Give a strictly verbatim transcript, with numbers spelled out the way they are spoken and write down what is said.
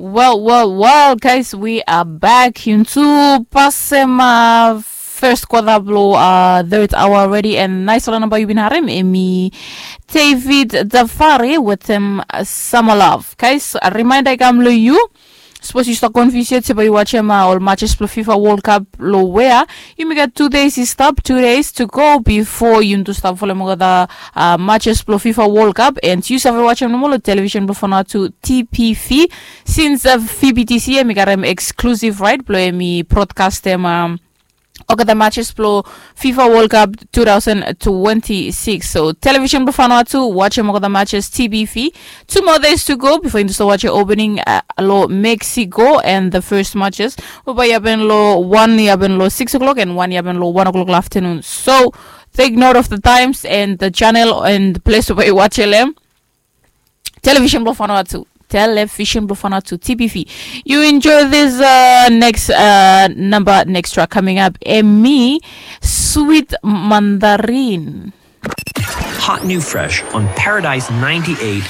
Well, well, well, guys, we are back. Yuntu pasem uh, first quarter blo uh, third hour already, and nice one about you been harem emi David Dafari with him uh, summer love. Guys, a reminder kam lo you. Suppose you start confused yet about you watch him uh, all matches blo FIFA World Cup lo where you may get two days is stop, two days to go before you to start following the uh, matches blo FIFA World Cup, and you have watch him no more television blo Fana to T P V. Since uh, V B T C emi got him exclusive right blo emi broadcast him um, okay, the matches blo FIFA World Cup two thousand twenty-six. So television blo Fana to watch him okay, the matches T B V. Two more days to go before you start watch opening uh, lo Mexico and the first matches. Oba yaben lo one yaben lo six o'clock and one yaben lo one o'clock afternoon. So take note of the times and the channel and the place where you watch L M. Television blo Fana to television blo Fana to T P V. You enjoy this uh, next uh, number, next track coming up. Emi Sweet Mandarin. Hot new fresh on Paradise ninety-eight